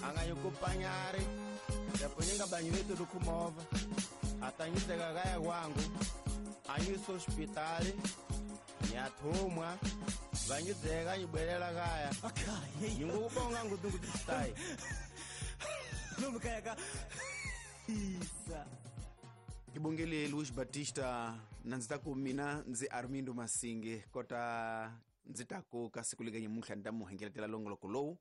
Anganyikupanyari yapunyinga banyiwetu dukumova atanyiseka kaya kwangu anyisa hospitali nyathumwa vanyidzeka nyibwelela kaya nyingukubonga ngudungudistai lomukayaka isa Kibongele Luis Batista na ndzi ta ku mina ndzi Armindo Masinge kota ndzi ta ku ka siku lega nyamuntlha ni ta mu hengeletela longoloko lowu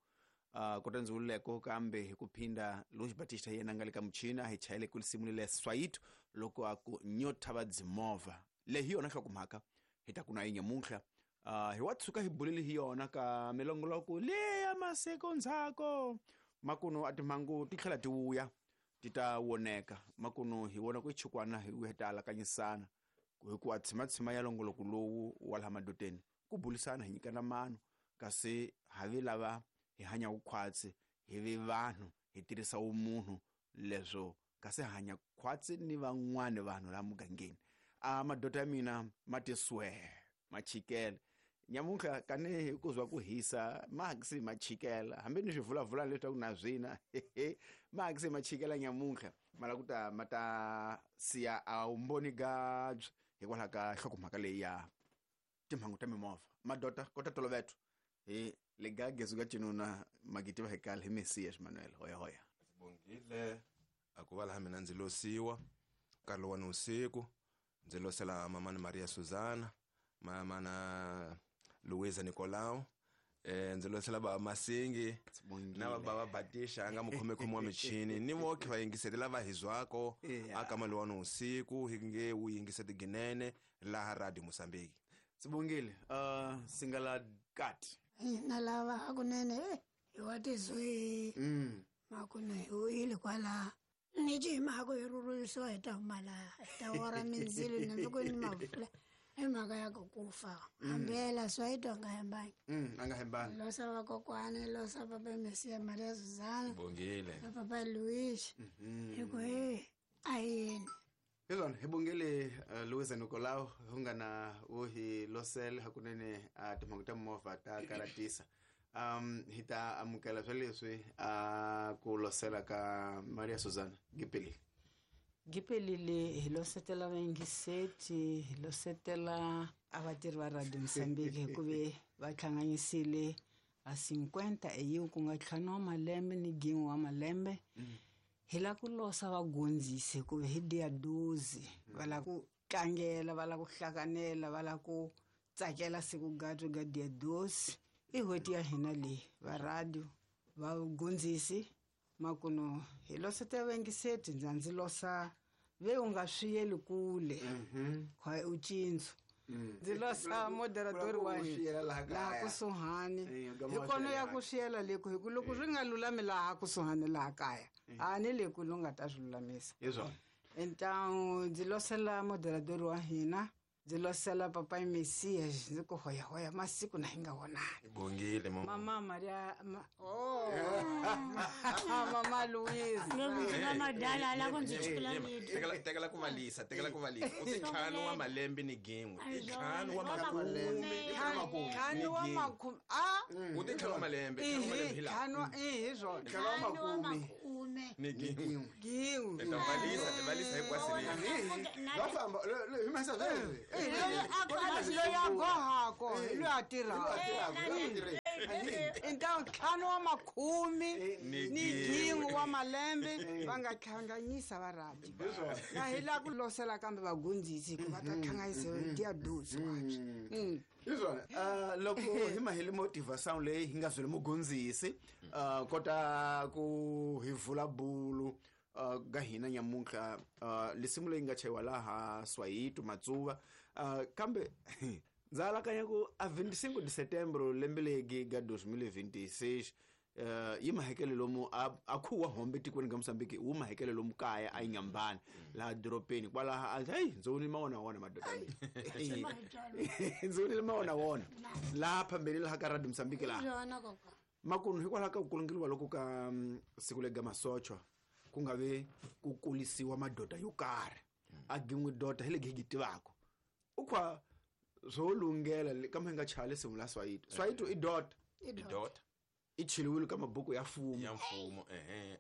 kota ndzi wululeko kambe hi ku phinda Luis Batista yena nga le ka muchini a hi chayele ku lisimu lele Swayito loko a ku nyota va dzimovha leyi hi yona nhlokomhaka hi ta ku na yi nyamuntlha hi wa tshuka hi bulele hi yona ka milongoloko leya masiku ndzhaku makuno a timhangu ti tlhela ti vuya ti ta woneka makuno hi vona ku chukwana hi vuya ta alakanyisana hikuva tshimatshima ya longoloko lowu wa laha madoteni ku bulisana hi nyikana mano kasi havi lava hi hanya khwatsi hi vi vanhu hi tirhisa umunhu leswo kasi hanya khwatsi ni van'wani vanhu laha mugangeni a madota ya mina ma tiswe machikele nyamuntlha kani hi ku zwa ku hisa maxi machikela hambi ni swivulavula leswaku na zwina maxi machikela nyamuntlha mala ku ta ma ta siya a wumboni gabyi hikwalaho ka nhlokomhaka leyi ya timhangu ta mimovha madota kota toloveto hi legagezu ka cinuna magiti va hekala hi Mesias Manuel hoya hoya Sibongile akuva laha mina ndzi losiwa nkarhi lowa ni usiku ndzi losela mamani Maria Susana mamana Luisa Nicolau ndzi losela baba Masingi na baba Batisha nga mukhomekhomi wa michini ni voke va yingiseti lava hi zwako aka mali wa ni usiku hi nge wu yingiseti ginene laha Radio Mozambique. Sibongile singala kat na lava hakunene hi wa tizwi makuna hi wile kwala ni ji mhaka hi rhurhisiwa hi ta huma laha hi ta wora mindzilo na loko ni mavula i mhaka ya ku kufa hambela Swayito a nga hembangi a nga hembangi losa vakokwani losa papa Mesiya Maria Susana Bongile na papa Luis hi ku he a hi yini Hezwana hi bongele Luisa Nicolau hu nga na wo hi losele hakunene timhangu ta mimovha ta karatisa hi ta amukela swa leswi ku losela ka Maria Susana Gipelile. Gipelile hi losetela vayingiseti hi losetela a vatirhi va Radio Mozambique hikuve va hlanganyisile a 50 eyiwu ku nga ntlhanu wa malembe ni gin'we wa malembe hi la ku losa vagondzisi hikuva hi dia 12 va la ku tlangela va la ku hlakanela va la ku tsakela siku gato ga dia 12 i n'hweti ya hina leyi va radio vagondzisi makuno hi losa vayingiseti ndza ndzi losa ve u nga swi yeli kule khwa u cincu ndzi losa moderatori wa hina laha kusuhani hi kona ya ku swiyela leku hi ku loko swi nga lulami laha kusuhani laha kaya a ni le ku lu nga ta swi lulamisa então ndzi losela moderatori wa hina ndzi losela papa Mesiya ndzi ku hoya hoya masiku na hi nga vonani Bongile mama Maria mama Luisa madala la ku ndzi chukula tekela ku valisa tekela ku valisa u ti ntlhanu wa malembe ni gin'we i ntlhanu wa makume ntlhanu wa makume a u ti ntlhanu wa malembe ntlhanu hi swona ntlhanu wa makume ni gin'we gin'we ta valisa ti valisa hinkwaswo va famba hi masa loyi a gohako hi loyi a tirhaka então ntlhanu wa makhume ni gin'we wa malembe va nga hlanganyisa va radio na hi la ku losela kambe vagondzisi hikuva ta hlanganyisa dia 12 kwabye Hiswona loko hi mahele motiva sound leyi hi nga zwele mugondzisi kota ku hi vula bulu ga hina nyamuntlha lisimu leyi nga chayiwa laha Swayito Matsuva kambe ndza alakanya ku a 25 de setembro lembe legi ga 2026 yi mahekele lomu a khuwa hombe tikweni ga Mozambique wu mahekele lomu kaya a Inyambani laha doropeni kwalaha a hey ndzi vonile mawona wona madoda ndzi vonile mawona wona laha phambeni laha ka Radio Mozambique laha makunu hikwalaho ka ku kulungeliwa loko ka siku lega masochwa ku nga ve ku kulisiwa madoda yo karhi a gin'we dota hi legi hi tivaka u khwa swo lungela kambe hi nga chali simu la Swayito Swayito i dota i dota I cheliwile ka mabuku ya mfumo. Ya mfumo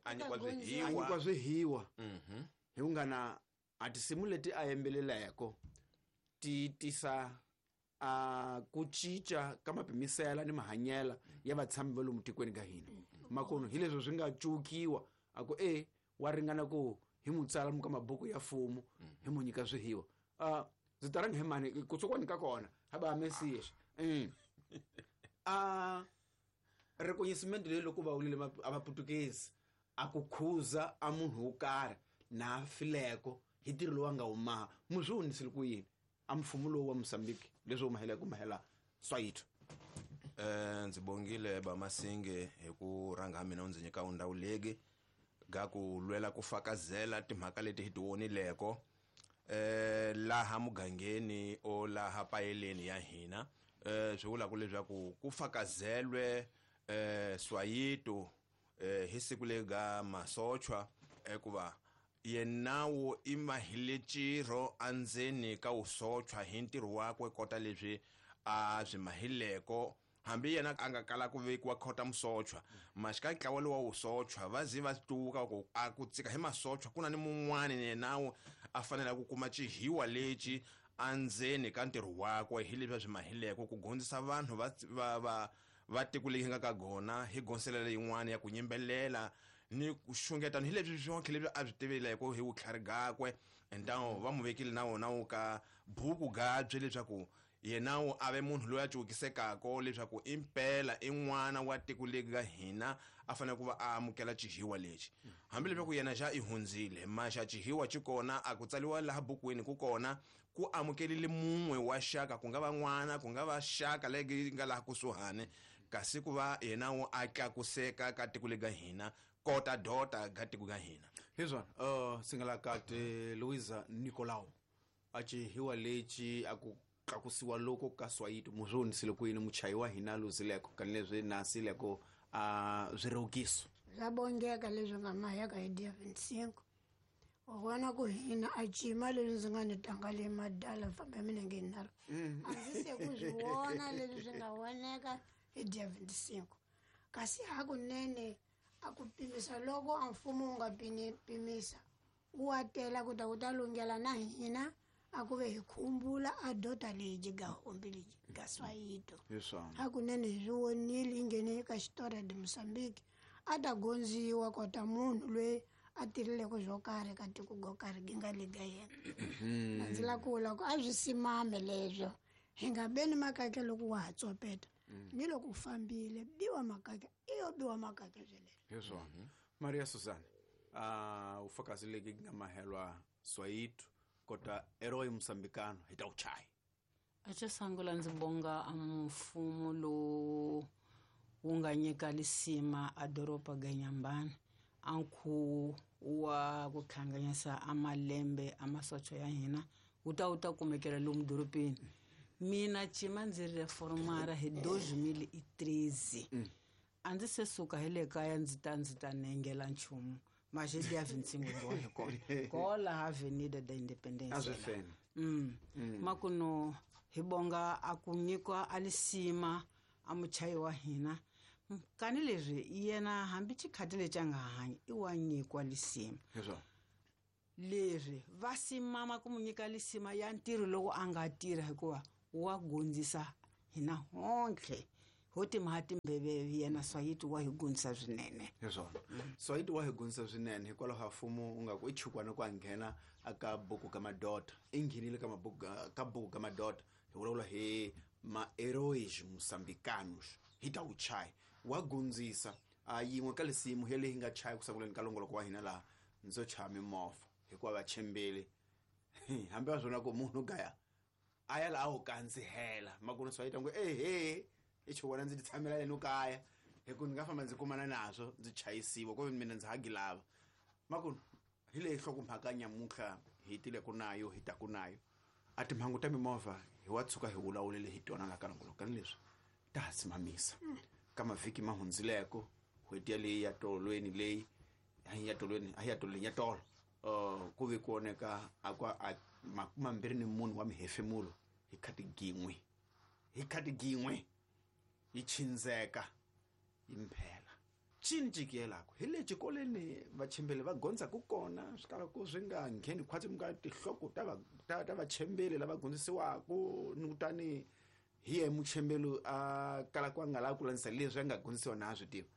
a nyikiwa A nyikiwa swihiwa. Hi ku nga na a tinsimu leti a yimbeleleko ti tisa a ku cinca ka mapimisela ni mahanyela ya vatshami va lomu tikweni ka hina. Makono hi leswi swi nga cukiwa a ku wa ringana ku hi mu tsala ka mabuku ya mfumo hi mu nyika swihiwa. Ndzi ta rhanga hi mani kutsukwani ka kona ha ba message. Reconhecimento leyi loko va wulile a vaputukezi a ku khuza a munhu wo karhi na fileko hi ntirho lowu a nga wu maha mu swi hunisile ku yini a mfumo lowu wa Mozambique leswi wu ku mahela Swayito. Ndzi bongile Bamasinge hi ku rhanga mina u ndzi nyika ndhawu legi ga ku lwela ku fakazela timhaka leti hi ti vonileko laha mugangeni o laha payeleni ya hina. Swi vula ku leswaku ku fakazelwe Swayito hi siku lega masochwa ekuva yenawo i mahile ntirho andzeni ka wusochwa hi ntirho wakwe kota leswi a swi mahileko hambi yena a nga kala ku vekiwa khota musochwa maxika ntlawa lowa wusochwa va zi va tuka ku a ku tsika hi masochwa ku na ni mun'wani yenawo a fanele ku kuma xihiwa lexi andzeni ka ntirho wakwe hi leswi a swi mahileko ku gondzisa vanhu va tiko leyi nga ka gona hi gonselela yin'wana ya ku yimbelela ni ku xungeta hi leswi swonke leswi a swi tiveleko hi vutlhari gakwe entawo va mu vekile na wona wu ka buku gabye leswaku yena wu a ve munhu loyi a cukisekako leswaku impela i n'wana wa tiko leri ka hina a fanele ku va a amukela xihiwa lexi hambi leswaku yena xa i hundzile maxa xihiwa xi kona a ku tsaliwa laha bukwini ku kona ku amukelile mun'we wa xaka ku nga va n'wana ku nga va xaka leyi nga laha kusuhani kasi ku va yena wu a tlakuseka ka tiko leri ka hina kota dota ka tiko ka hina. Hiswona singalakati Luisa Nicolau a xihiwa lexi a ku tlakusiwa loko ka Swayito mu swi hunisile ku yini muchayi wa hina luzileko kanileswi nasileko a swirevukiso swa bongeka leswi nga maheka hi dia 25 u vona ku hina a cima leswi ndzi nga ni tanga le madala fambe minenge yinharhu a ndzi se ku swi vona leswi swi nga voneka hi dia 25 kasi hakunene a ku pimisa loko a mfumo wu nga pimisa wu wa tela ku ta ku ta lunghela na hina a ku ve hi khumbula a dota leyi ga hombi leyi ga Swayito. Hakunene hi swi vonile yi nghene eka xitori de Mozambique a ta gondziwa kota munhu loyi a tirhileko swo karhi ka tiko go karhi gi nga le ga yena. A ndzi la ku vula ku a swi simame leswo hi nga beni makake loko wa ha tsopeta ni loko u fambile biwa makake i yo biwa makake sweleswo. Hi swona. Maria Susan ufakazi leki nga mahelwa Swayito kota herói moçambicano hi ta wu chaya. A xo sungula ndzi bonga a mfumo lowu wu nga nyika lisima a doroba ga Nyambani a nkhuvo wa ku hlanganyisa a malembe a masocha ya hina wu ta kumekela lomu dorobeni. Mina cima ndzi reformara hi 2013 a ndzi se suka hi le kaya ndzi ta nengela nchumu mas dia 25 ndo hi kona kola Avenida da Independência. Makuno hi bonga a ku nyikwa a lisima a muchayi wa hina kani leswi yena hambi xikhati lexi a nga hanyi i wa nyikwa lisima. Leswi va simama ku mu nyika lisima ya ntirho loko a nga tirha hikuva wa gondzisa hina hontlhe ho timha timbeveve yena Swayito wa hi gondzisa swinene. Hi swona. Swayito wa hi gondzisa swinene hikwalaho ka mfumo u nga ku i chukwana ku a nghena aka buku ka madota i nghenile ka mabuku ka buku ka madota hi vulavula hi ma-heróis moçambicanos hi ta wu chaya wa gondzisa a yin'we ka lisimu hi leyi nga chaya ku sunguleni ka longoloko wa hina laha ndzo chaya mimovha hikuva va tshembele hambi va swona ku munhu gaya a ya laha wu kandzihela makunu Swayito ngo ehe i chukwana ndzi ti tshamela leni kaya hi ku ni nga famba ndzi kumana naswo ndzi chayisiwa ku mina ndzi hagi lava makunu hi leyi nhlokomhaka nyamuntlha hi tile ku nayo hi taku nayo a timhangu ta mimovha hi wa tshuka hi vulavulele hi tona la ka longoloko kani leswi ta ha simamisa ka mavhiki ma hundzileko n'hweti yaleyi ya tolweni leyi ya tolweni a ya tolweni ya tolo ku ve ku oneka a kwa a 24 wa mihefemulo hi khati gin'we yi chindzeka Imphela cini cikiyelako hi le xikolweni vachembeli va gondzaku kona swi kalaku swi nga ngheni khwatsi mi nga tinhloko ta vachembeli lava gondzisiwaku ni kutani hi ye muchembeli a kalaku a nga lavi ku landzisa leswi a nga gondzisiwa na a swi tiva.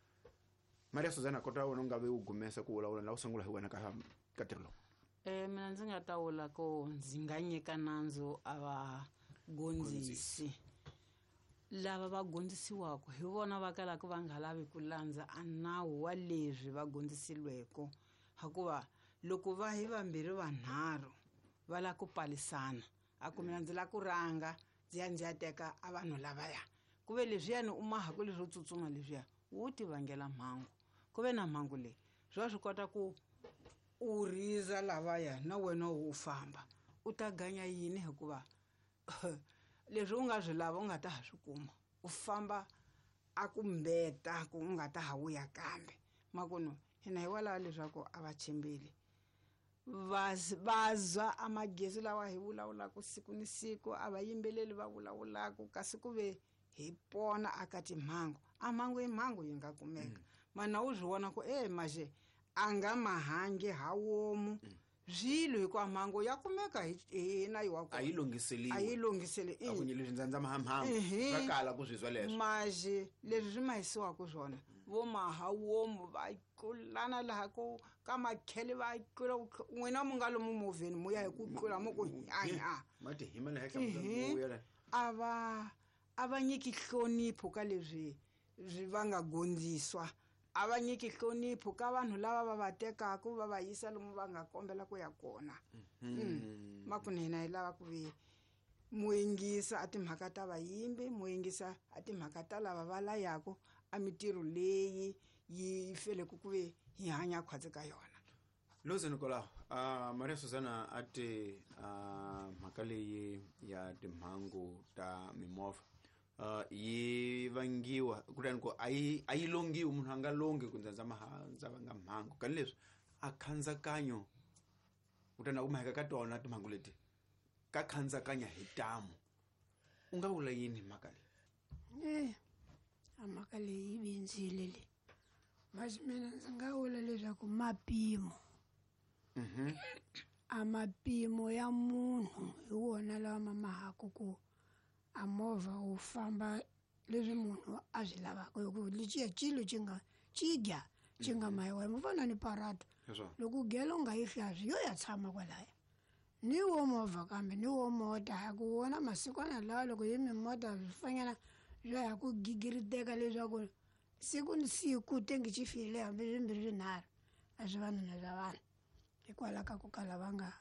Maria Suzana, kota wena u nga ve u gumesa ku vulavula la u sungula hi wena ka ntirho lowu. Mina ndzi nga ta vula ku ndzi nga nyika nandzu a va gondzisi. Lava va gondzisiwaka hi vona va kalaka va nga lavi ku landza a nawu wa leswi va gondzisiweke, hikuva loko va hi vambirhi vanharhu va lava ku palisana, a ku mina ndzi lava ku rhanga ndzi ya ndzi ya teka a vanhu lavaya, ku ve leswiyani u mahaku leswo tsutsuma leswiya wu ti vangela mhangu. Ku ve na mhangu leyi swi va swi kota ku u riza lavaya na wena u famba u ta ganya yini, hikuva leswi u nga swi lava u nga ta ha swi kuma, u famba a ku mbeta ku u nga ta ha vuya kambe. Makuno hina hi walava leswaku a va tshembeli va zwa a magezi lawa hi vulavulaka siku ni siku, a va yimbeleli va vulavulaka, kasi ku ve hi pona aka timhangu. A mhangu i mhangu yi nga kumeka, mana u swi vona ku maje a nga mahangi ha womu swilo, hikuva mhangu ya kumeka hi na yiwa a yi lunghiseliwi, a yi lunghiseli a ku leswi ndza mahamhangu swa kala ku swi zwa leswo. Maje leswi swi mahisiwaka swona vo maha womu va tlulana laha ku ka makhele va tlula n'wina mu nga lomu movheni mu ya hi ku tlula mu ku hanya mati hi mana henhla. A va nyiki nhlonipho ka leswi va nga gondziswa, a va nyiki nhlonipho ka vanhu lava va va tekaka va va yisa lomu va nga kombela ku ya kona. Makuno hina hi lava ku ve mu yingisa a timhaka ta vayimbi, mu yingisa a timhaka ta lava va layaku a mitirho leyi yi feleke ku ve hi hanya khwatsi ka yona. Luze Nicolau, Maria Suzana a te mhaka leyi ya timhangu ta mimovha yi vangiwa kutani ku a yi longiwi, munhu a nga longi ku ndza ndza vanga mhangu, kani leswi a khandzakanyo kutani a ku maheka ka tona timhangu leti ka khandzakanya hi tamu. U nga vula yini mhaka leyi? A mhaka leyi yi bindzile leyi, masi mina ndzi nga vula leswaku mapimo a mapimo ya munhu hi wona lawa ma mahaku ku a movha wu famba leswi munhu a swi lavaka, hikuva lexiya xilo xi nga xi dya xi nga mayiwa mi fana ni parata, loko gelo u nga yi hlaswi yo ya tshama kwalaya ni wo movha kambe ni wo mota, ha ku wona masikwana lawa loko yi mimota swi fanyana swa ya ku gigiriteka leswaku siku ni siku tengi xi file hambi swimbirhi swinharhu a swi vanhu na swa vanhu, hikwalaho ka ku kala va nga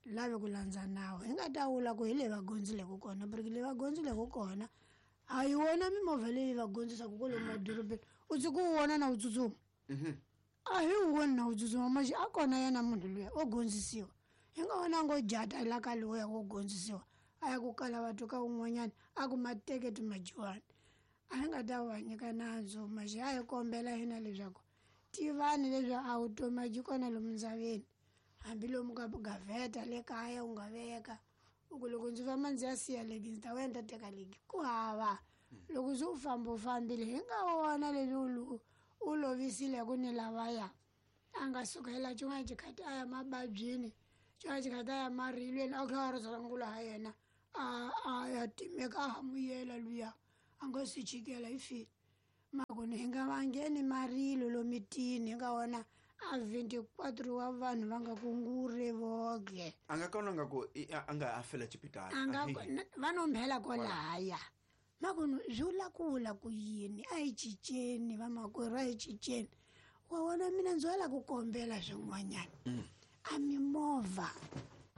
lavi ku landza nawu. Hi nga ta vula ku hi leyi va gondzileke kona, porque leyi va gondzileke kona a yi wona mimovha leyi va gondzisaka kwalomu madorobeni, u tshuka u vona na wu tsutsuma, a hi wu voni na wu tsutsuma, maxi a kona yena munhu luya wo gondzisiwa, hi nga vona ngo jata la ka luya wo gondzisiwa a ya ku kala vathu ka un'wanyana a ku mateketi majiwani. A hi nga ta va nyika nandzu, maxi a hi kombela hina leswaku tivani leswaku a vutomi a byi kona lomu ndzaveni, hambi lomu ka gavheta le kaya u nga veka u ku loko ndzi famba ndzi ya siya legi ndzi ta vuya ndzi ta teka legi, ku hava. Loko se u famba u fambile, hi nga wona leswi u lovisile ku ni lavaya a nga sukela xin'wana xikhati a ya mababyini, xin'wana xikhati a ya marilweni, a kha a ri sungula ha yena a ya timeka a ha muyela luya a nga si chikela hi file. Makoni hi nga vangheni marilo lomitini, hi nga wona a 24 wa vanhu va nga kungure voge. A nga kona nga ku a nga a fela xipitali, a nga va no mphela kwalahaya. Makoni swi vula ku vula ku yini? A hi cinceni vamakwerhu, a hi cinceni. Wa vona mina ndzi wala ku kombela swin'wanyana, a mimovha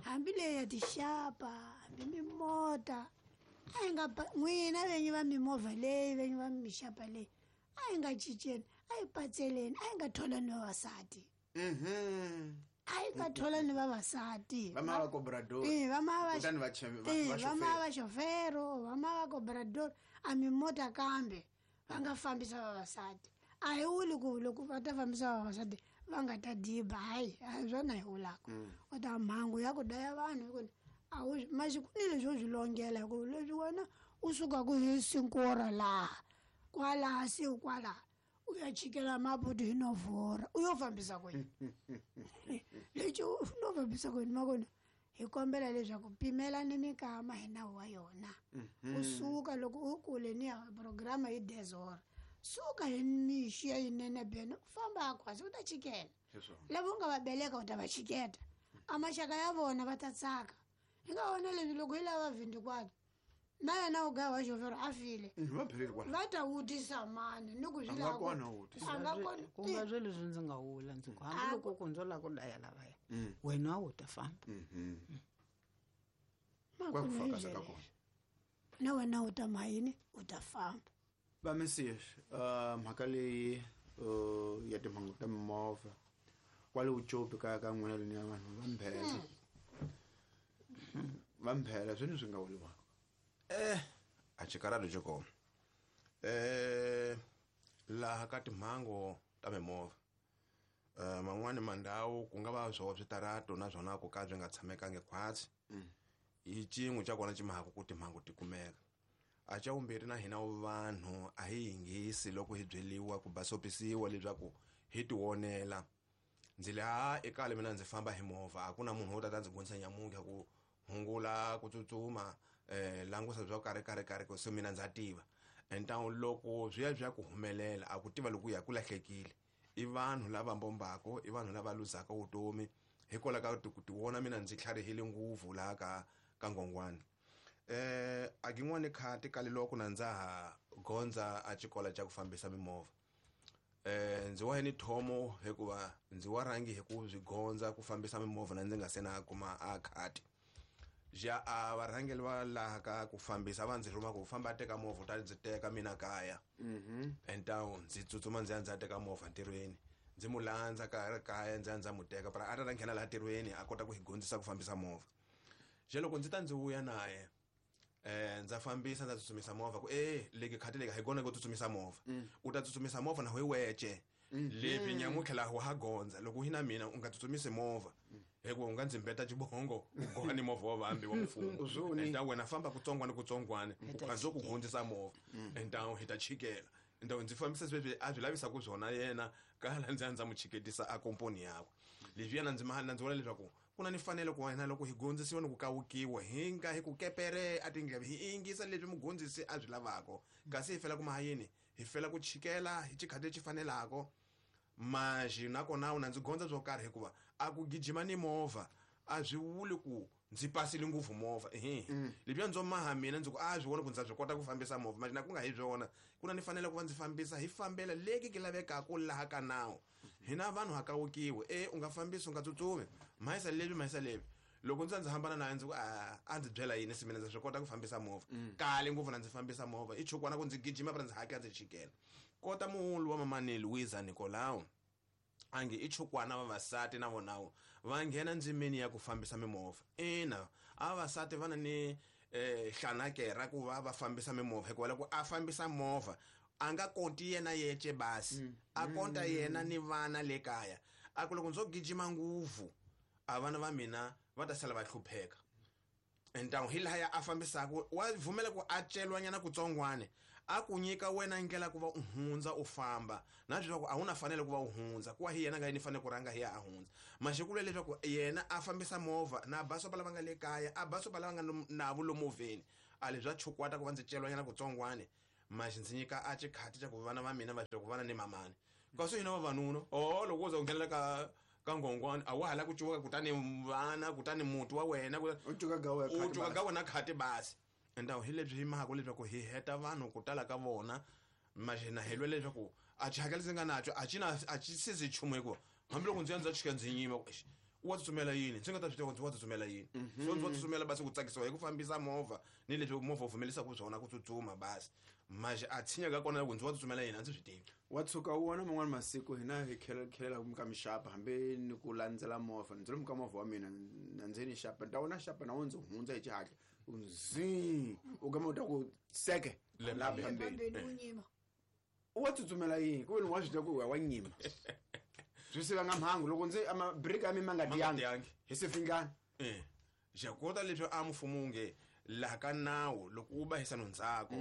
hambi leyi ya tixapa hambi mimota a hi nga n'wina venyi va mimovha leyi venyi va mixapa leyi a hi nga cinceni, a hi patseleni, a hi nga tholani vavasati, a hi nga tholani vavasati, va ma va cobrador, va ma va xofero, va ma va cobrador a mimota kambe va nga fambisa vavasati. A hi vuli ku loko va ta fambisa vavasati va nga ta diba, hayi a hi swona hi vulaka. U ta mhangu ya ku daya vanhu hi ku a wu masiku ni leswi u swi longela, hikuva leswi wena u sukaka hi sinkora laha kwalaha siku kwalaha U ya chikela Maputo hi novhora u yo fambisa ku yini lexi u no fambisa ku yini makona hi kombela leswaku pimelani mikama hi nawu wa yona. Kusuka loko u kule ni ya programa hi dezora, suka hi mixi ya yinene bene u famba khwasi u ta chikela lava u nga va beleka, u ta va chiketa a maxaka ya vona va ta tsaka. Hi nga vona leswi loko hi lava 24 na yena u gaya wa xofero a file, Va pheleli kwala. Va ta vutisa mani ni ku swi A nga lava ku- kona wo vutisa. A nga kona. Ku nga swe leswi ndzi nga wula, ndzi ku hambiloko ku ndzo lava ku daya lavaya, wena wu ta famba. Kwa ku Makunu hi fakaza ka byele. kona. Na wena u ta mayini, u ta famba. Va mesias, mhaka leyi ya timhangu ta mimovha kwale Ucopi ka n'wina leni ya vanhu va Mphela, va Mphela, swini swi nga vuriwaka? A xikarhalo xo koma laha ka timhangu ta mimovha, man'wani mandhawu ku nga va swo switarato na swona ku ka byi nga tshamekangi khwatsi, hi cin'we xa kona xi mahaka ku timhangu ti kumeka. A xa vumbirhi, na hina vanhu a hi yingisi loko hi byeliwa ku basopisiwa leswaku hi tionela. Ndzi le ha ekale mina ndzi famba hi movha, a ku na munhu wo tata ndzi gonisa nyamuntlha ku hungula ku tsutsuma, langusa bya karhi karhi karhi ku se mina ndza tiva. Entawu loko swi ya swi ya ku humelela, a ku tiva loko ya ku lahlekile, i vanhu lava mbombako, i vanhu lava luzaka vutomi hikwalaho ka ku ti vona mina ndzi tlharihile ngopfu laha ka ngongwani. A kin'wani khati kale loko na ndza ha gondza a xikolo xa ku fambisa mimovha, ndzi wa ni thomo hikuva ndzi wa rhangi hi ku byi gondza ku fambisa mimovha na ndzi nga se na kuma a khati ja. A varhangeli va laha ka ku fambisa va ndzi rhuma ku famba a teka movha, u ta ndzi teka mina kaya. Entawu ndzi tsutsuma ndzi ya ndzi ya teka movha ntirhweni, ndzi mu landza ka kaya, ndzi ya ndzi ya mu teka para a ta ta nghena laha ntirhweni a kota ku hi gondzisa ku fambisa movha. Je loko ndzi ta ndzi vuya naye, ndza fambisa, ndza tsutsumisa movha ku leki khati leki hi kona ku tsutsumisa movha, u ta tsutsumisa movha na hi wece lebyi nyamuntlha laha wa ha gondza. Loko hi na mina u nga tsutsumisi movha hikuva u nga ndzi mbeta xibongo, u goha ni movha wa vambi wa mfumo. Uzoni. Enta wena famba kutsongwane kutsongwane, Hi ta u khandzo ku chikela. gondzisa movha, enta hi ta chikela. Enta ndzi fambisa sweswi a swi lavisaku swona yena kala ndzi ya ndza mu chiketisa a komponi yakwe. Leswi yena ndzi ma ndzi vona leswaku ku na ni fanele ku wena loko hi gondzisiwa ni ku kawukiwa, hi nga hi ku kepere a tindleve, hi yingisa leswi mugondzisi a swi lavako, kasi hi fela ku mahayini, hi fela ku chikela hi xikhati lexi fanelako. Maxi nakona na ndzi gondza swo karhi hikuva a ku gijima ni movha a swi vuli ku ndzi pasile ngopfu movha ehe. Leswiya ndzo maha mina ndzi ku a swi vona ku ndza swi kota ku fambisa movha maxi na ku nga hi swona, ku na ni fanele ku va ndzi fambisa hi fambela leki ki lavekaka laha ka nawu. Hina vanhu ha kawukiwe, u nga fambisi, u nga tsutsumi, mahisa leswi, mahisa leswi. Loko ndzi ndzi hambana naye, ndzi ku a ndzi byela yini se mina ndza swi kota ku fambisa movha kale ngopfu na ndzi fambisa movha i chukwana ku ndzi gijima para ndzi hakela ndzi chikela kota. Muhulu wa mamani Luisa Nicolau ange i chukwana vavasati na vonawo va nghena ndzimeni ya ku fambisa mimovha. Ina, a vavasati va na ni hlanakera ku va va fambisa mimovha, hikuva loko a fambisa movha a nga konti yena yece basi, a konta yena ni vana le kaya. A ku loko ndzo gijima ngopfu, a vana va mina va ta sala va hlupheka. Ntawu hi lahaya a fambisaka wa vumela ku a celwanyana kutsongwane, a ku nyika wena ndlela ku va u hundza u famba na leswaku a wu na fanele ku va u hundza ku wa hi yena nga yini fanele ku rhanga hi ya a hundza maxikulo, leswaku yena a fambisa movha na basopa lava nga le kaya, a basopa lava nga navo lomovheni. A leswi swa chukwata ku va ndzi celwanyana kutsongwane maxi ndzi nyika a xikhati xa ku vana va mina va ku vana ni mamani, kasi hina vavanuna o loko wo za u nghenela ka ngongwani a wa ha la ku cuka, kutani vana, kutani muti wa wena. U cuka ga wena U khati cuka basi. Ga wena khati basi. Entawu hi lebyi hi mahaka leswaku hi heta vanhu ku tala ka vona maxi na hi lwela leswaku a xihakelo ndzi nga naco a xi na a xi sizi nchumu, hikuva hambiloko ndzi ya ndza chika ndzi nyima ku, "Eish, wa tsutsumela yini?" Ndzi nga ta swi tiva ku ndzi wa tsutsumela yini, so ndzi wa tsutsumela basi ku tsakisiwa hi ku fambisa movha ni leswi movha wu pfumelisaka swona ku tsutsuma basi, maxi a tshinya ka kona loko ndzi wa tsutsumela yini a ndzi swi tivi. Wa tshuka u vona man'wani masiku hina hi khelela ka mixapa, hambi ni ku landzela movha, ndzi lomu ka movha wa mina na ndzeni xapa, ni ta vona xapa na wo ndzi hundza hi xihatla zi u gama u ta ku seke Le laha phambeni. phambeni. Phambeni u nyima. U wa tsutsumela yini ku veni wa swi tiva ku wa nyima, swi sivanga mhangu loko ndzi mabiriki ya mi ma nga Ma nga tiyangi tiyangi. hi sifingana. Xakota leswi a mfumo wu nge Laha ka nawu loko u ba hisano ndzhaku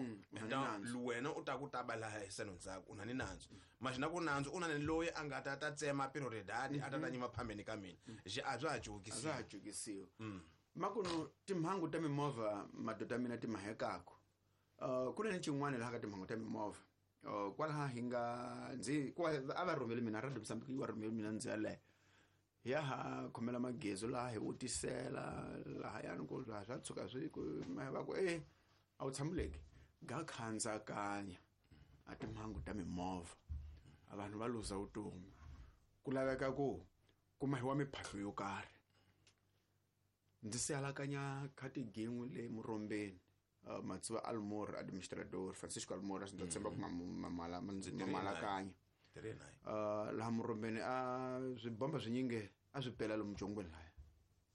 wena u ta ku ta ba laha hisano ndzhaku u na ni nandzu maxina ku nandzu u na ni loyi a nga ta ta tsema prioridade a ta ta nyima phambeni ka mina xi a bya ha jukisiwa a bya ha jukisiwa makuno timhangu ta mimovha madoda mina ti mahekako ku na ni xin'wana laha ka timhangu ta mimovha kwalaha hi nga ndzi a va rhumele mina Radio Mozambique yi va rhumele mina ndzi yaleyo ya ha khomela magezo laha hi vutisela lahayani ku laha swa tshuka swi ku va ku e a wu tshamuleki ga khandzakanya a timhangu ta mimovha a vanhu va luza vutomi ku laveka ku kumahiwa miphahlo yo karhi ndzi sihalakanya khatigingwe le Murombeni Matsuva Almor administrador Francisco Almor ndzi tshemba ku mamalakanya laha Murombeni a swibomba swinyingi a swi pela lomu jongweni lahaya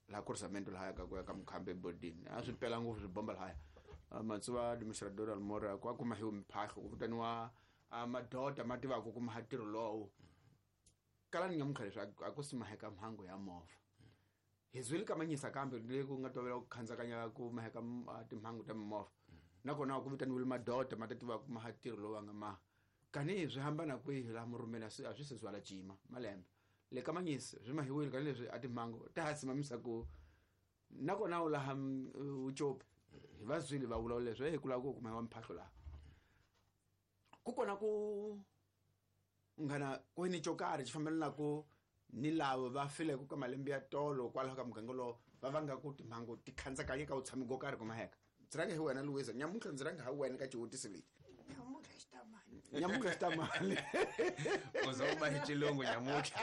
laha cruzamento lahaya ka ku ya ka Mukhambe ebodini a swi pela ngopfu swibomba lahaya Matsuva administrador Almor ku a kumahiwe miphahlo ku vitaniwa madoda ma tivaka ku maha ntirho lowu kala ni nyamuntlha leswi a ku si maheka mhangu ya movha hi zwile ka manyisa kambe le ku nga tovela ku khandzakanya ku maheka timhangu ta mimovha nakona ku vitaniwile madoda ma ta tiva ku maha ntirho lowu va nga maha kani swi hambana kwihi laha Murombeni a swi se zwala cima malembe le ka manyisa swi mahiwile kani leswi a timhangu ta ha simamisa ku nakona u laha Ucopi hi va zwile va vulavula leswi hi ku lava ku kumahiwa mphahlo laha ku kona ku nghana ku ni xo karhi xi fambelana ku ni lava va fileke ka malembe ya tolo kwalaho ka muganga lowu va vanga ku timhangu ti khandzakanya ka vutshami go karhi kumaheka ndzi rhanga hi wena Luisa nyamuntlha ndzi rhanga hi wena ka xivutiso lexi nyamuntlha xi ta mali u za u ba hi xilungu nyamuntlha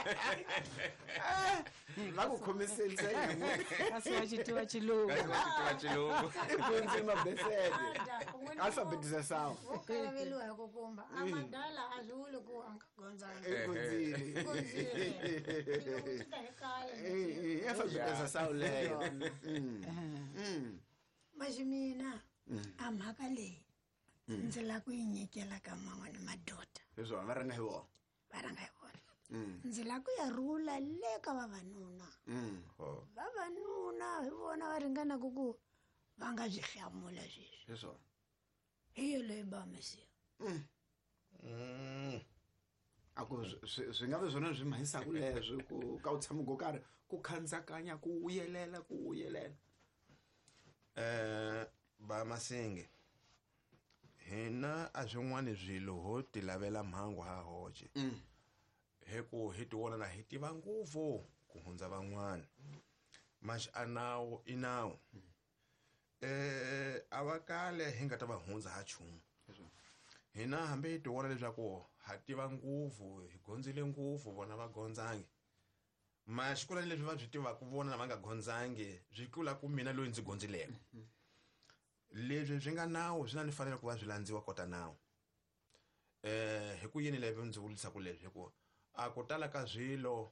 va ku khomiseni se nyamuntlha kasi wa xi tiva xilungu kasi wa xi tiva xilungu i dyondzile mabesede alphabetisasawa wo kalaveliwa hi ku kumba a madala a swi vuli ku a nga gondzanga i gondzile i alphabetisasawa leyo maxi mina a mhaka leyi ndzi lava ku yi nyikela ka man'wana madoda hi swona va rhanga hi vona va rhanga hi vona ndzi lava ku ya rhula le ka vavanuna vavanuna hi vona va ringanaka ku va nga byi hlamula sweswi hi swona hi yo leyi bamisiwa a ku swi nga vi swona swi mahisaka leswi ku ka u tshama go karhi ku khandzakanya ku vuyelela ku vuyelela ba Masinge hina a swin'wana swilo ho ti lavela mhangu ha hoxe hi ku hi ti vona na hi tiva ngopfu ku hundza van'wana maxi a nawu i nawu a va kale hi nga ta va hundza ha nchumu hina hambi hi ti vona leswaku ha tiva ngopfu hi gondzile ngopfu vona va gondzangi maxi kula leswi va swi tivaka vona lava nga gondzangi swi tlula ku mina loyi ndzi gondzileke leswi swi nga nawu swi na ni fanele ku va swi landziwa kota nawu hi ku yini leswi ndzi vulisaka leswi hi ku a ku tala ka swilo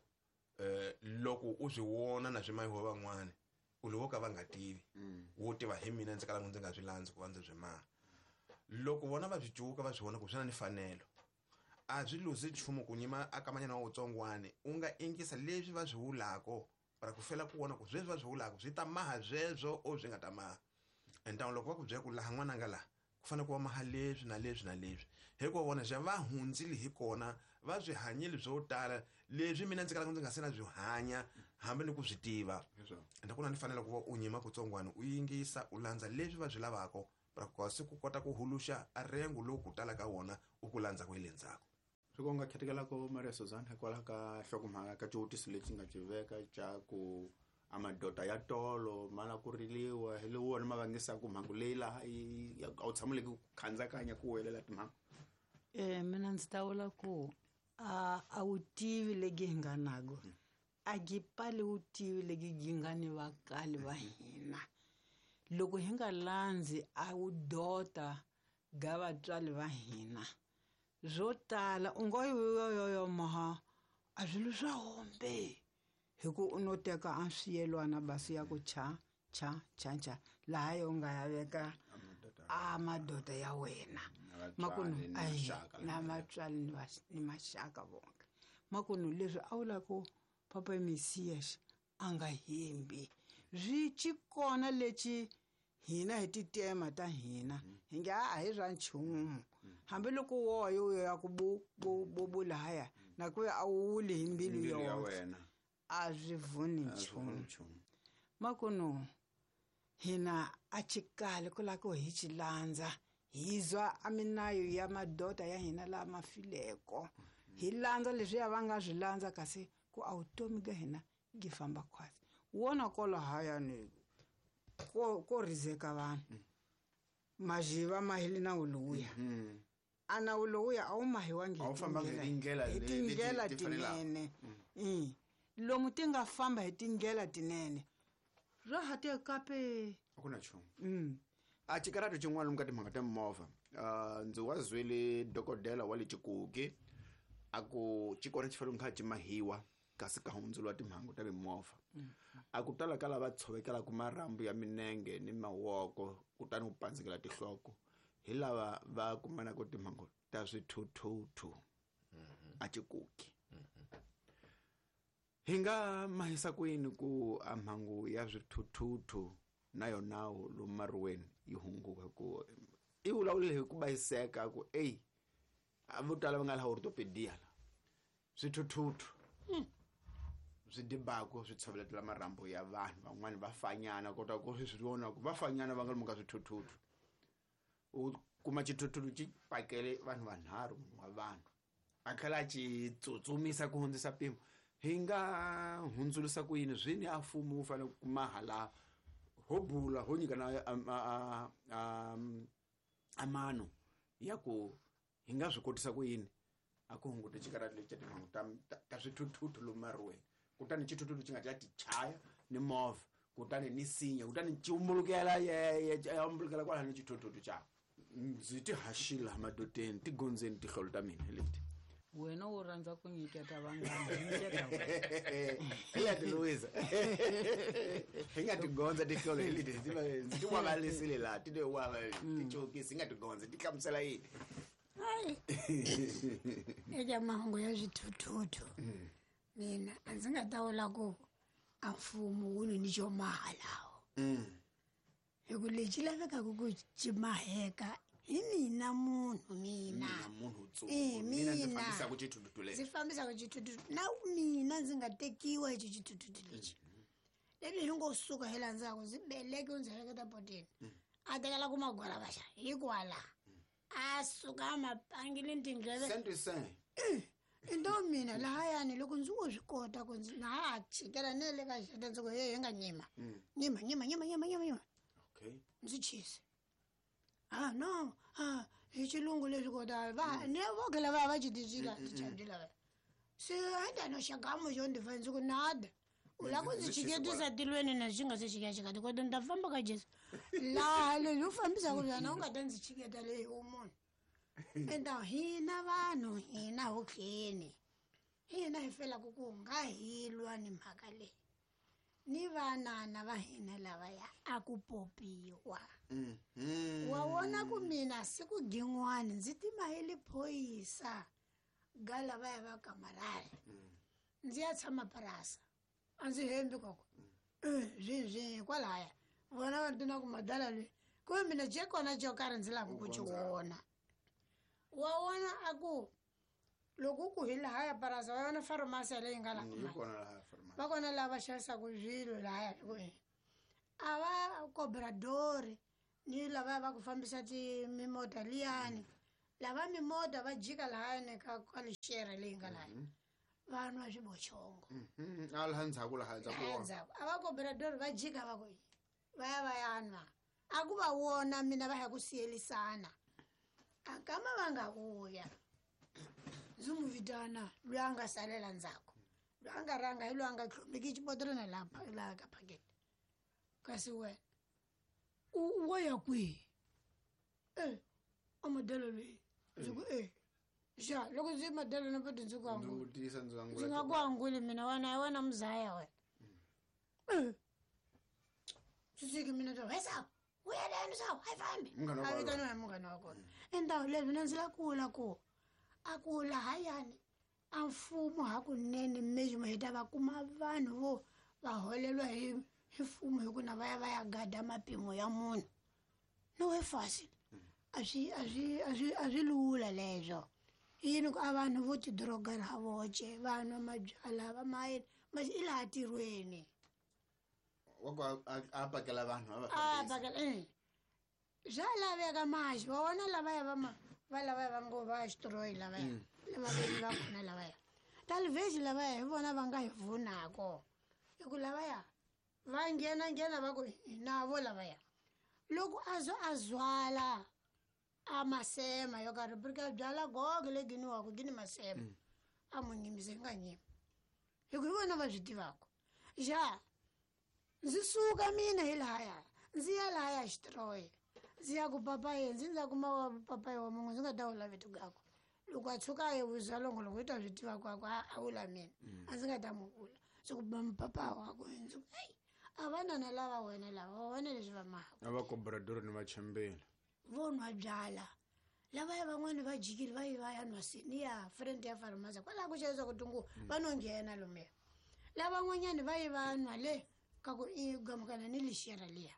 loko u swi vona na swi mahiwa van'wana u lo ka va nga tivi wo tiva hi mina ndzi kalanga ndzi nga swi landzi ku va ndzi swi maha loko vona va swi cuka va swi vona ku swi na ni fanelo a swi luzi nchumu ku nyima a kamanyana wa wutsongwani u nga ingisa leswi va swi vulako para ku fela ku vona ku sweswi va swi vulaka swi ta maha sweswo o swi nga ta maha entamu loko va ku byela ku laha n'wananga laha ku fanele ku va maha leswi na leswi na leswi hikuva vona xa va hundzile hi kona va swi hanyile swo tala leswi mina ndzi kalaka ndzi nga se na swi hanya hambi ni ku swi tiva ende ku na ni fanele ku va u nyima kutsongwana u yingisa u landza leswi va swi lavaka para ku kasi ku kota ku huluxa a rengo lowu ku tala ka wona u ku landzaka hi le ndzhaku swi ku nga khetekelako Maria Suzanne hikwalaho ka nhlokomhaka ka xivutiso lexi nga xi veka xa ku a madoda ya tolo ma la ku riliwa hi le wona ma vangisaka mhangu leyi laha a wu tshamuleki ku khandzakanya ku welela timhangu mina ndzi ta vula ku a wu tivi legi hi nga nago a gi pali wu tivi legi gi nga ni vakali va hina loko hi nga landzi a wu dota ga vatswari va hina swo tala u ngo yoyoyo maha a swilo swa hombe hi ku u no teka a swiyelwana basi ya ku cha cha cha cha laha yo nga ya veka a madoda ya wena makunu na vatswari ni maxaka vonke makunu leswi a vula ku papa Mesias a nga hembi swi ci kona lexi Hina hi titema ta hina hi nge a hi ra nchumu hambiloko woyo uyo ya ku bu bu bu bu lahaya na ku a wuli hi mbilu ya yoxe wena a swi vuni A swi vuni nchumu nchumu. Makuno hina a chikali ku lava ku hi chilandza hi zwa a minayo ya madota ya hina lama fileko hi landza leswiya va nga swi landza kasi ku a vutomi bya hina byi famba khwatsi wona kolahayani ko rizeka vanhu majiva ma hile nawu lowuya a nawu lowuya a wu mahiwangi A wu fambanga hi tindlela hi leti tindlela ti fanelaka. tinene. Lomu ti nga famba hi tindlela tinene ra ha te kape. A ku na nchumu. A xikarato xin'wana lomu ka timhaka ta mimovha, ndzi wa zwele dokodela wa le Chikuki a ku xi kona xi fanele kha xi mahiwa kasi ka hundzuriwa timhangu ta mimovha. A ku tala ka lava tshovekelaka marhambu ya minenge ni mavoko kutani u pandzekela tinhloko hi lava va kumanaka timhangu ta swithuthuthu a Chikuki. Hi nga mahisa kwini ku a mhangu ya swithuthuthu na yona lomu mariweni yi hunguka ku i vulavulile hi ku bayiseka ku ey a vo tala va nga laha orthopedia la swithuthuthu swi dibako swi tshoveletela marhambu ya vanhu van'wani va fanyana kota ku swi vona ku va fanyana va nga lomu ka swithuthuthu u kuma xithuthuthu xi pakele vanhu vanharhu munhu wa vanhu a tlhela a xi tsutsumisa ku hundzisa mpimo. Hi nga hundzulusa ku yini swini a mfumo wu fanele ku kuma hala ho bula ho nyikana a mano ya ku hi nga swi kotisa ku yini a ku hunguta xikarhati lexi xa timhangu ta swithuthuthu lomu mariweni kutani xithuthuthu xi nga ta ti chaya ni movha kutani ni sinya kutani xi umbulukela ya umbulukela kwalaho ni xithuthuthu xa ndzi ti haxile laha madoteni tigondzeni tihlolo ta mina hi leti. Wena u rhandza ku nyiketa vanghana, nyiketa wena. Hi leti Louisa. Hi nga tigondza tihlolo hi leti, ndzi ti wavalisile laha, ti te wava, ti cokisi, hi nga tigondza, ti hlamusela yini? Hayi. Eka mahungu ya swithuthuthu mina a ndzi nga ta vula ku a mfumo wu ni xo maha lawo. Hi ku lexi lavekaka ku xi maheka hi mina munhu mina. Mina munhu wutsongo. Eh, Mina ndzi mina. fambisaka xithuthuthu lexi. Ndzi fambisaka xithuthuthu. Na mina ndzi nga tekiwa hi xithuthuthu lexi. Leli hi ngo suka hi laha ndzhaku ndzi beleke ndzi heleketa potini. A tekela ku magwala vaxa hikwala. A suka a ma pangile tindleve. Saint Saint. Into mina lahayani loko ndzi wo swi kota ku ndzi na ha chikela ne le ka xeta ndzi ku he hi nga nyima. Nyima, nyima, nyima, nyima, nyima, nyima. Ndzi chise. Ah no, ah hi xilungu leswi kota va ne vo khela va va xitichila tichadi lava. Se a ta no xagamu xo ndzi fa ndzi ku nada. U lava ku ndzi Ndzi chise chiketisa tilweni na xi nga se xikachika ti kota ni ta famba ka Jesu. Laha leswi u fambisaka byona u nga ta ndzi chiketa leyi u munhu. Enta hina vanhu hina hotleni. Hina hi felaka ku nga hi lwa ni mhaka leyi. Ni vanana va hina lavaya a ku popiwa. Wa vona ku mina siku gin'wani ndzi tima hi le phoyisa ga lavaya va kamarari. Ndzi ya tshama purasa. A ndzi hembi koko. Swi kwalaya. Vona va tina ku madala loyi. Ku mina je kona xo karhi ndzi lava ku xi vona. Wa vona a ku loko ku hi lahaya purasa va vona farumasi leyi nga laha. Yi kona laha farumasi. Va kona lava xavisaka swilo lahaya hi ku yini. A va cobradori ni lava va ku fambisa ti mimota liyani. Lava mimota va jika lahayani ka lixere leyi nga lahaya. Va nwa swibochongo. A laha ndzhaku, laha ndzhaku Laha wa. ndzhaku. A va cobradori va jika va ku yini. Va ya va ya nwa. A ku va vona mina va ya ku siyelisana. A kama va nga vuya. Ndzi n'wi vitana loyi a nga salela ndzhaku. Loyi a nga rhanga hi loyi a nga tlhomeki xibodhlelana laha ka phaketi. Kasi wena u wo ya kwihi? A modelo loyi. Ndzi ku Xa, loko ndzi modelo na poti ndzi ku Ndzi angula. vutisa, ndzi angula Ndzi nga ku anguli mina wena, hi wena muzaya wena. Swi siki mina to, wesa, u ya leni sawu, a yi fambi. Munghana wa A kona. vitaniwa hi munghana wa kona. Endhawu leyi mina ndzi la kula ku a ku lahayani a mfumo hakunene mejimo hi ta va kuma vanhu vo va holelwa Hi mfumo hi ku na va ya va ya gada mapimo ya munhu. No e fácil. A swi lula leswo. Yini ku a vanhu vo tidroga ha voce, va nwa mabyalwa va mayini, masi i laha tirhweni. Wa ku a pakela vanhu a va fambisa. A pakela Swa laveka maxi, wa vona lavaya va ma va lavaya va ngo va xitroyi lavaya. Lava veni va kona lavaya. Talvez lavaya hi vona va nga hi vunako. Hi ku lavaya va nghena va ku hi navo lavaya. Loko a zo a zwala a masema yo karhi porque byala gogo le giniwako gini masema. A mu nyimise nga nyima. Hi ku hi vona va swi tivaka. Ja ndzi suka mina hi lahaya. Ndzi ya lahaya xitroyi. Ndzi ya ku papaye, ndzi ndza kuma wa papaye wa munhu ndzi nga ta wula vito gakwe. Loko a tshuka a ye wisa longoloko yi ta swi tiva ku a wula mina. A ndzi nga ta mu vula. Ndzi ku papa wakwe ndzi ku ei a va nana lava wena lava va vona leswi va mahaka. A va cobrador ni va chembela. Vo nwa byala. Lavaya van'wani va jikile va yi va ya nwa senior friend ya farmasa kwalaho ku xavisiwa ku tungu va no nghena lomuya. Lavan'wanyani va yi va nwa le ka ku i gamukana ni lixera liya.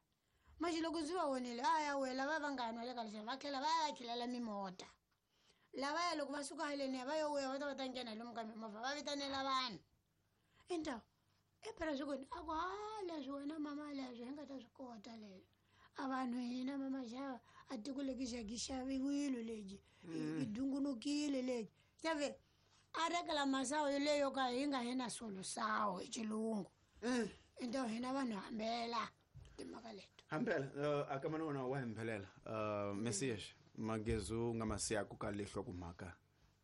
Manje loko ndzi va vonile a ya wela va va nga nwa le ka lexera va tlhela va ya khilela mimota. Lavaya loko va suka haleni va yo vuya va ta va ta nghena lomu ka mimovha va vitanela vanhu. Então e phela swi ku a ku ha leswi wena mama leswi hi nga ta swi kota leswi. A vanhu hina mama xava a tiko leki xa ki xaviwile lebyi i dungunukile lebyi. Xave a rekela masawu leyo ka hi nga hi na solusawu hi xilungu. Então hina vanhu hambela timhaka leto. Hambela a ka mana wona wa hembelela. Messias magezu nga masiyaku ka lehlo ku mhaka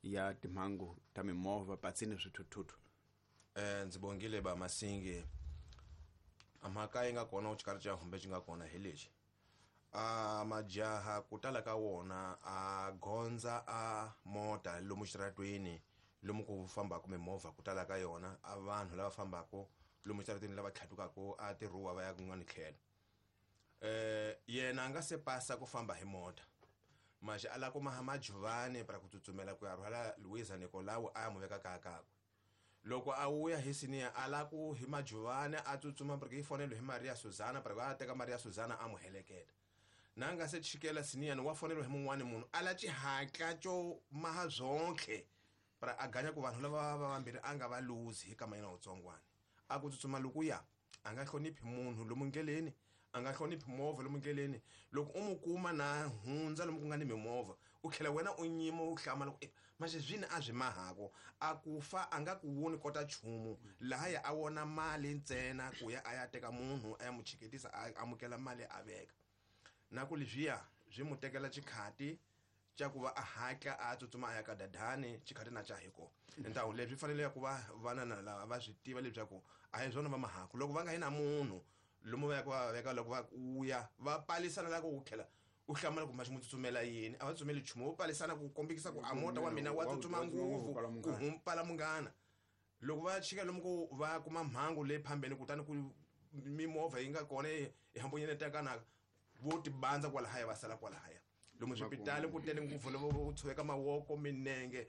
ya timhangu ta mimovha patsini swithuthuthu. Ndzi bongile ba Masingi. A mhaka yi nga kona u xikarhi xa humbe xi nga kona hi lexi. A majaha ku tala ka wona a gondza a mota lomu xitaratweni lomu ku fambaka mimovha ku tala ka yona a vanhu lava fambaka lomu xitaratweni lava tlhatukaka a tirhuwa va ya kun'wana tlhelo. Yena a nga se pasa ku famba hi mota. Manje a la kuma majuvani para ku tsutsumela ku ya rhwala Luisa Nicolau a ya mu veka kaya kakwe. Loko a wuya hi siniya a la ku hi majuvani a tsutsuma porque yi fonela hi Maria Susana para a teka Maria Susana a mu heleketa. Na nga se chikela siniya wa fonela hi mun'wani munhu a la xihatla xo maha zonke para a ganya ku vanhu lava va vambirhi a nga va luzi hi kama yena wutsongwana. A ku tsutsuma loko ya a nga hloniphi munhu lomu ndleleni, a nga hloniphi movha lomu ndleleni. Loko u mu kuma na hundza lomu ku nga ni mimovha u tlhela wena u nyima u hlamala ku manje zwini a swi mahako a ku fa a nga ku woni kota nchumu lahaya a wona mali ntsena ku ya a ya teka munhu a ya mu chiketisa a amukela mali a veka. Na ku leswiya swi mu tekela xikhati xa ku va a hatla a tsutsuma a ya ka dadani xikhati na xa hi kona. Ntawu leswi fanele ku va vana na lava va swi tiva leswaku a hi swona va mahako loko va nga yi na munhu lomu va ya ku va veka loko va uya va palisana la ku tlhela u hlamala ku maxi mu tsutsumela yini a va tsutsumeli nchumu wo palisana ku kombekisa ku a mota wa mina wa tsutsuma ngopfu ku humpala munghana. Loko va chika lomu ku va kuma mhangu leyi phambeni kutani ku mimovha yi nga kona yi hambunyenetekanaka vo tibandza kwalahaya va sala kwalahaya. Lomu swipitali ku tele ngopfu loko vo tshoveka mavoko minenge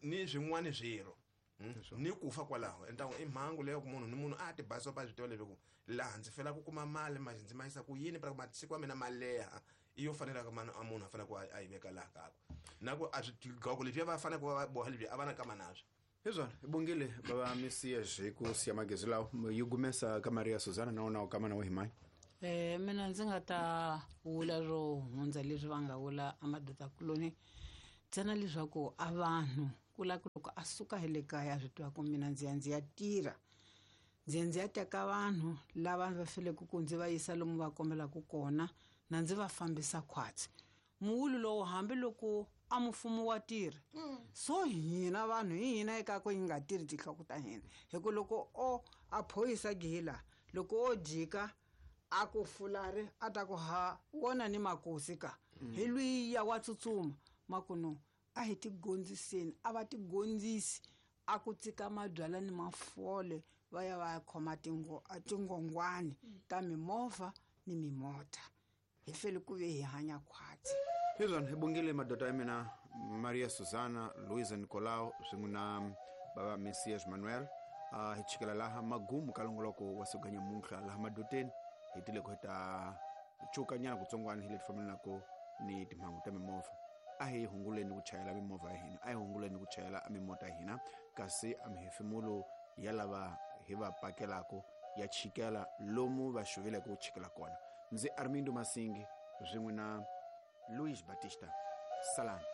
ni swin'wana swirho ni ku fa kwalaho. Ntawu i mhangu leyo ku munhu ni munhu a ti basa pa swi tiva leswaku laha ndzi fela ku kuma mali manje ndzi ma yisa ku yini para ku masiku ya mina ma leha i yo fanelaka mani a munhu a fanele ku a yi veka laha kakwe. Na ku a swigqoko leswiya va fanele ku va va boha leswiya a va na kama naswo. Hi swona hi bongile bava Messias hi ku siya magezi lawa yi gumesa ka Maria Susana na wona kama na wehimani. Mina ndzi nga ta vula ro hundza leswi va nga vula a madoda-kuloni ntsena leswaku a vanhu ku la ku loko a suka hi le kaya swi tiva ku mina ndzi ya ndzi ya tirha ndzi ya teka vanhu lava va feleke ku ndzi va yisa lomu va kombelaka kona na ndzi va fambisa khwatsi. Muwulu lowu hambiloko a mfumo wa tirha so hina vanhu hi hina eka ku hi nga tirhi tinhloko ta hina hi ku loko o a phoyisa gila loko o jika a ku fulari a ta ku ha wona ni makosi ka hi lwiya wa tsutsuma makuno a hi tigondziseni a va tigondzisi a ku tsika mabyala ni mafole va ya va ya khoma tingongwani ta mimovha ni mimota hi fele ku ve hi hanya khwatsi. Hi swona hi bongile madoda ya mina Maria Susana, Luisa Nicolau swin'we na bava Messias Manuel. Hi chikela laha magumu ka longoloko wa siku nyamuntlha laha madoteni hi tile ku hi ta cukanyana kutsongwana hi leti fambelanaka ni timhangu ta mimovha. A hi hunguleni ku chayela mimovha ya hina, a hi hunguleni ku chayela mimota ya hina, kasi a mihefemulo ya lava hi va pakelaka ya chikela lomu va xuvileke ku chikela kona. Ndzi Armindo Masingi swin'we na Luis Batista. Salani.